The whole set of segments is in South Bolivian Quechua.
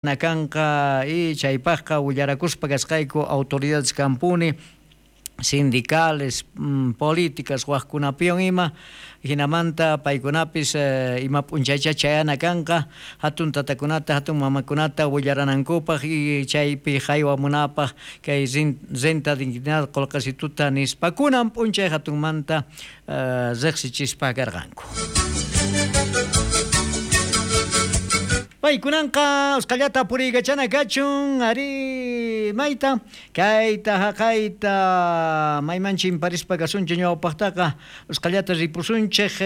Kanqa y chaypaqqa willarakuspa kasqayku autoridades kampuni sindicales, políticas wajkunapiwan ima, jinamanta paykunapis ima p'unchaycha chayana kanqa hatun tatakunata, hatun mamakunata willaranankupaq y chaypi haywamunapaq kay renta dignidad qullqisituta nispa kunan p'unchay hatunmanta riqsichispa karqanku. Paykunanqa usqallata puriykachana kachun arí mayta kayta haqayta mayman chimparispa kasunchik ñawpaqtaqa usqallata ripusunchik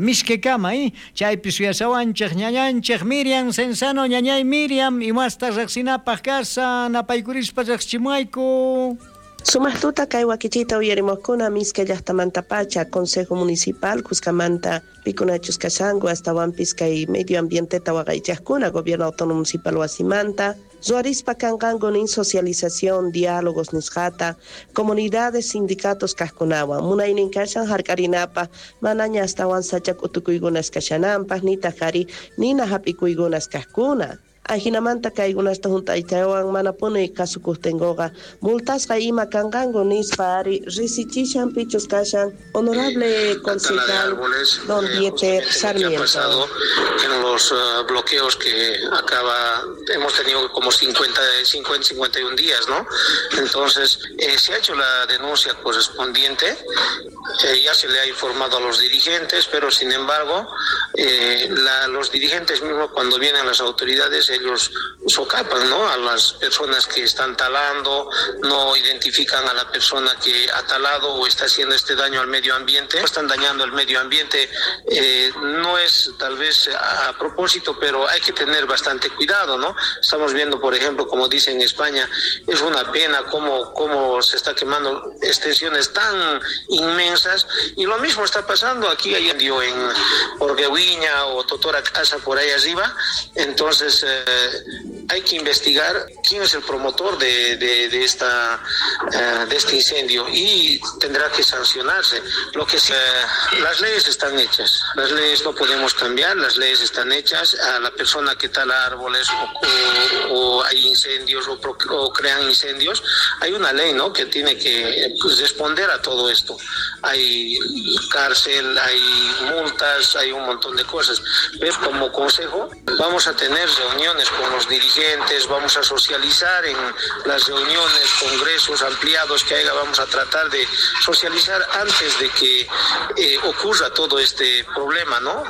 Mishkekama chaypi suyasawanchik ñañanchik Miriam Cenzano ñañay Miriam imasta riqsinapaq kashan napaykurispa riqsichimuwayku. Sumaq tuta kay wakichiyta uyarimuqkuna Miske llaqtamantapacha Consejo Municipal kuskamanta pikunachus kashanku astawanpis kay medio ambienteta waqaychaqkuna Gobierno Autónomo Municipal wasimanta ruwarispa kanqanku nin socialización, diálogos nisqata comunidades, sindicatos kaqkunawan munaynin kashan hark'arinapaq manaña astawan sacha k'utukuykunas kashananpaq nitaq ari nina hap'ikuykunas kaqkuna. Ajinamanta kaykunasta hunt'aytawan manapuni kasukuqtinkuqa multasqa ima kanqanku nispa ari risichishan pichus kashan honorable concejal don Dieter Sarmiento. En los bloqueos que acaba, hemos tenido como 50, 51 días, ¿no? Entonces, se ha hecho la denuncia correspondiente, ya se le ha informado a los dirigentes, pero sin embargo, los dirigentes mismos cuando vienen las autoridades, ellos socapan, ¿no?, a las personas que están talando, no identifican a la persona que ha talado o está haciendo este daño al medio ambiente, están dañando el medio ambiente, no es tal vez a propósito, pero hay que tener bastante cuidado, ¿no? Estamos viendo, por ejemplo, como dicen en España, es una pena cómo se está quemando extensiones tan inmensas, y lo mismo está pasando aquí, hay incendio en Orguehuiña o Totora Casa por ahí arriba, entonces hay que investigar quién es el promotor de este incendio y tendrá que sancionarse. Lo que sea, las leyes están hechas, las leyes no podemos cambiar, las leyes están hechas. A la persona que tala árboles o hay incendios o crean incendios, hay una ley, ¿no?, que tiene que, pues, responder a todo esto. Hay cárcel, hay multas, hay un montón de cosas. Pero como consejo vamos a tener reuniones con los dirigentes, vamos a socializar en las reuniones, congresos ampliados que haya, vamos a tratar de socializar antes de que ocurra todo este problema, ¿no?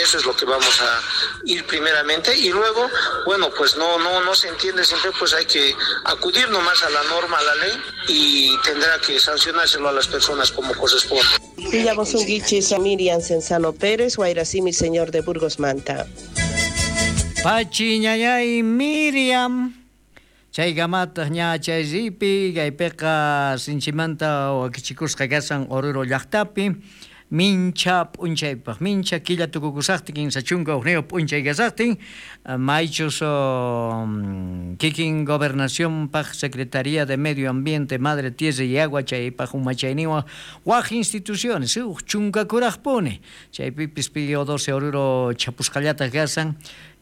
Eso es lo que vamos a ir primeramente y luego, bueno, pues no se entiende siempre, pues hay que acudir nomás a la norma, a la ley y tendrá que sancionárselo a las personas como corresponde. Villamosunguichis a Miriam Cenzano Pérez, Guairacimi, señor de Burgos Manta. Pachi ñañay Miriam, chay gamataq ña chay ripi, kaypiqa sinchimanta wakichikusqa kasan Oruro llaqtapi, mincha p'unchaypaq, mincha killa tukukusaqtin, 31 p'unchay kasaqtin, maychus kikin gobernacionpaq Secretaría de Medio Ambiente, Madre Tierra y Agua, chaypaq umachayniwan waj instituciones, uj chunkakuraqpuni, chaypipis Pío 12 Oruro chapusqallataq kasan,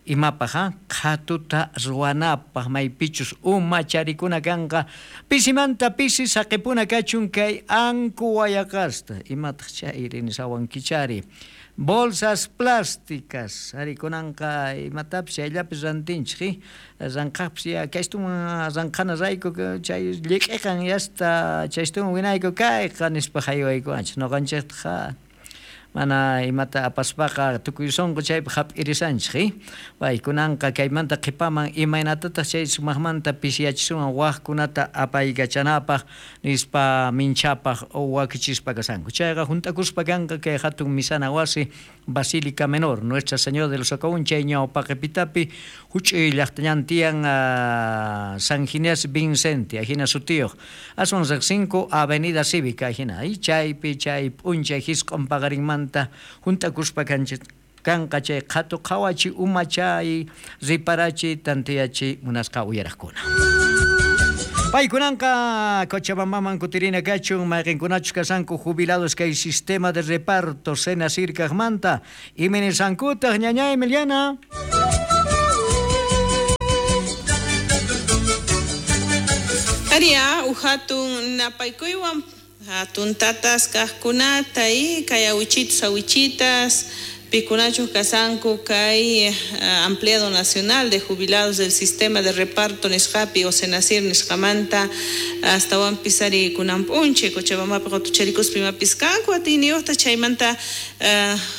imapaq qhatuta ruwanapaq maypichus umacharikuna kanqa pisimanta pisi saqipuna kachun kay anku wayaqasta imataq chayri nisawankichari bolsas plásticas arikunanqa imatapis chayllapis rantinchik ranqaqpis ya kaystuman ranqana rayku chay llik'iqan yasta chaystuman winayku kayqa nispa haywaykuwanchik noqanchiktaq mana imata apaspaqa tukuy sunqu chaypi hap'irisanchik paykunanqa kaymanta qhipaman imaynatataq chay sumaqmanta pisiyachisuwan waqkunata apaykachanapaq nispa minchapaq wakichispa kasanku chayqa hunt'akuspa kanqa kay hatun misana wasi Basílica Menor Nuestra Señora de los Socavón chay ñawpaqipitapi huch'uy llaqtañan tiyan San Ginés Vincente ajina sutiyuq aswan riqsinku Avenida Cívica ajina chaypi chay p'unchay hisq'un paqarinmanta hunt'akuspa kanqa chay qhatu qhawachi umachay riparachi tantiyachi munasqa uyaraqkuna. Paykunanqa Cochabambaman kutirina kachun mayqinkunachus kasanku jubilados kay sistema de reparto Senasir kaqmanta iminisankutaq ñañay Emiliana. Aria uhatun napaykuywan hatun tatas kaqkunata y kay awichitos awichitas pikunachu kasanku kay Ampliado Nacional de Jubilados del Sistema de Reparto nisqapi o Senacir nisqamanta astawanpis ari kunan p'unchay Cochabambapi qutucharikuspa imapis kanku atiyniyuqta chaymanta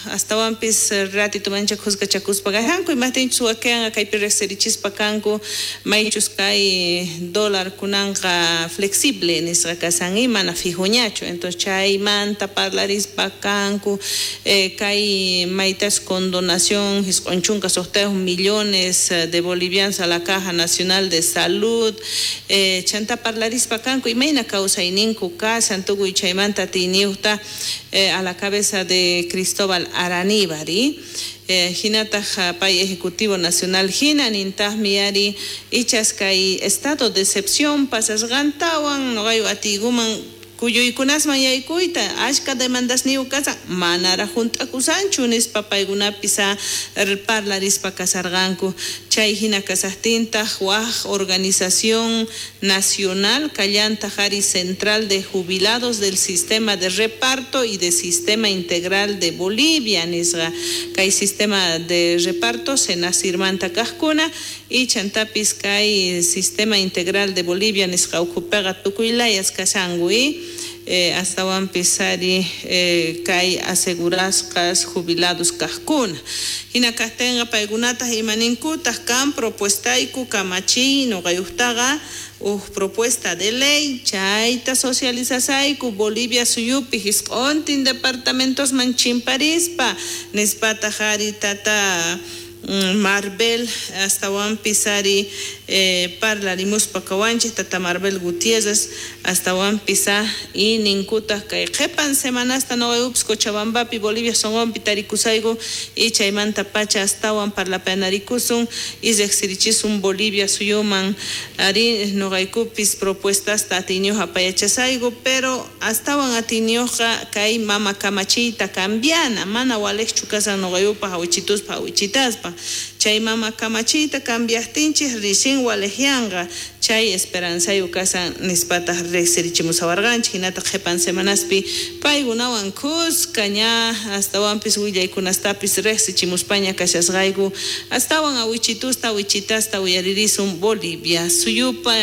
astawanpis ratito mancha khusqachakuspa kajanku imajtinchus wakinqa kaypi riqsirichispa kanku maychus kay dólar kunanqa flexible nisqa kasan y mana fijoñachu entonces chaymanta parlarispa kanku kay maytas con donación 96 millones de bolivianos a la Caja Nacional de Salud chanta parlarispa kanku imayna kawsayninku kasan tukuy chaymanta atiyniyuqta a la cabeza de Cristóbal Araníbar hinataq pay Ejecutivo Nacional hina nintaqmi ari ichas kay estado de excepción pasasqantawan noqayu atiykuman kuyuykunasman yaykuyta ashka demandasniyuq kasan manaraq hunt'akusanchu nispa paykunapis parlarispa kasarqanku chay hina kasaqtintaq waj organización nacional kallantaq ari Central de Jubilados del Sistema de Reparto y de Sistema Integral de Bolivia nisqa kay sistema de reparto Senacirmanta kaqkuna y chantapis kay Sistema Integral de Bolivia nisqa ukhupiqa tukuy layas kashanku astawanpis ari kay asegurasqas jubilados kaqkuna hina kaqtinqa paykunataq imaninkutaq kan propuestayku kamachiy nuqayuqtaqa uj propuesta de ley chayta socializasayku Bolivia suyupi hisq'untin departamentosman chimparispa nispataq ari tata Marbel astawanpis ari parlarimuspa kawanchik tata Marbel Gutiérrez astawanpis y ninkutaq kay qhipan semanasta nuqayupis Cochabambapi Bolivia sonqonpi tarikusayku y chaymanta pacha astawan parlapanarikusun y riqsirichisun Bolivia suyuman ari nuqaykupis propuestasta atiyniyuq apayachasayku pero astawan atiyniyuqqa kay mama kamachiyta cambiana mana waliqchu kasan nuqayupaq awichituspa awichitaspa chay mama kamachiyta cambiaqtinchik rixin waliqyanqa chay esperanzayuq kasan nispataq riqsirichimusawarqanchik hinataq qhipan semanaspi paykunawan kuska ña astawanpis willaykunastapis riqsichimuspaña kashasqayku astawan awichitusta awichitasta uyaririsun Bolivia suyupa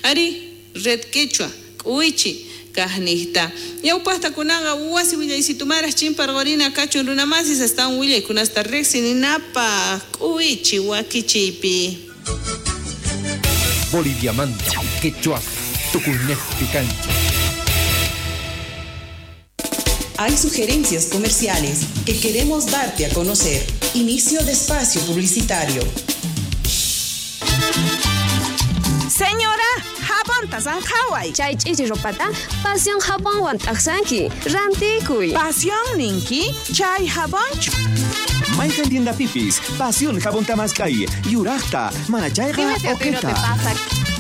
ari Red Quechua k'uwichi kaqniqta ñawpaqta kunaqa wasi willaysitu-maraq chimparqurina kachun runamasis astawan willaykunasta riqsininapaq k'uwichi wakichiypi. Boliviamanta quechua tukuynejpi kanchik. Hay sugerencias comerciales que queremos darte a conocer. Inicio de espacio publicitario. Señora, jabonta sanjaway. Chay ch'ichi ropata Pasión jabonwan t'aqsanki. Rantikuy. Pasión ninki, chay jabonchu. Mayqan tiendapipis, Pasión jabón tamaskay, yuraqta, manachayqa oqueta.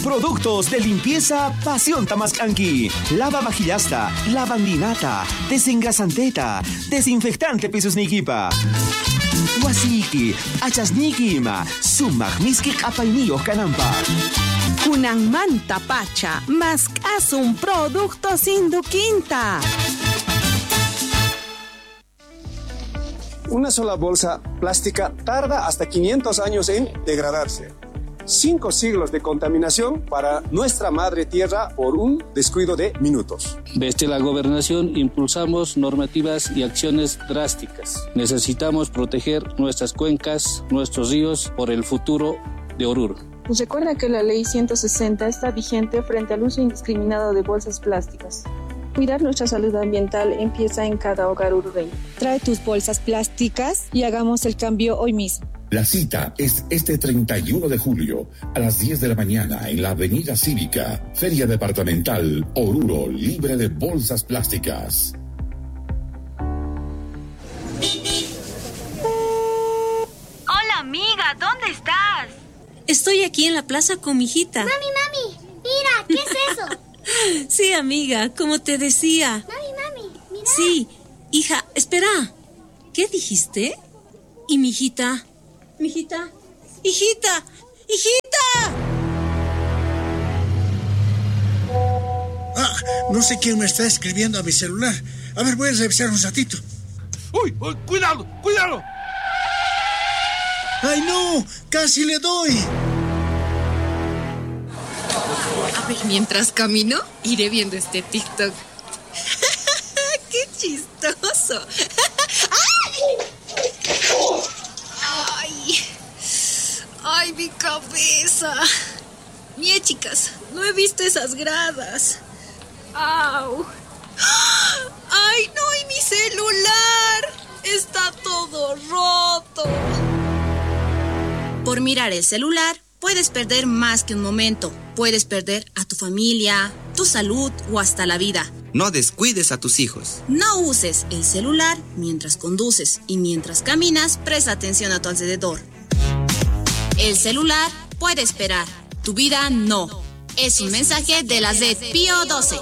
Productos de limpieza Pasión Tamascanqui. Lava vajillasta, lavandinata, desengrasanteta, desinfectante pisos nikipa. Wasiki, achasniki ima, sumaq miski q'apayniyuq kananpaq. Kunanmanta pacha, mask'asun productos Induquinta. Una sola bolsa plástica tarda hasta 500 años en degradarse. 5 siglos de contaminación para nuestra madre tierra por un descuido de minutos. Desde la gobernación impulsamos normativas y acciones drásticas. Necesitamos proteger nuestras cuencas, nuestros ríos por el futuro de Oruro. Recuerda que la Ley 160 está vigente frente al uso indiscriminado de bolsas plásticas. Cuidar nuestra salud ambiental empieza en cada hogar orureño. Trae tus bolsas plásticas y hagamos el cambio hoy mismo. La cita es este 31 de julio a las 10 de la mañana en la Avenida Cívica, Feria Departamental Oruro, libre de bolsas plásticas. Hola amiga, ¿dónde estás? Estoy aquí en la plaza con mi hijita. Mami, mami, mira, ¿qué es eso? Sí, amiga, como te decía. Mami, mami, mira. Sí, hija, espera. ¿Qué dijiste? ¿Y mi hijita? Mijita, hijita, hijita. No sé quién me está escribiendo a mi celular. A ver, voy a revisar un ratito. ¡Uy! Uy, ¡Cuidado! ¡Cuidado! ¡Ay, no! ¡Casi le doy! A ver, mientras camino, iré viendo este TikTok. ¡Qué chistoso! ¡Ay! ¡Ay, mi cabeza! Mie, chicas, no he visto esas gradas. ¡Au! ¡Ay, no! ¡Y mi celular! ¡Está todo roto! Por mirar el celular, puedes perder más que un momento. Puedes perder a tu familia, tu salud o hasta la vida. No descuides a tus hijos. No uses el celular mientras conduces y mientras caminas, presta atención a tu alrededor. El celular puede esperar, tu vida no. Es un mensaje de la Z Pío 12.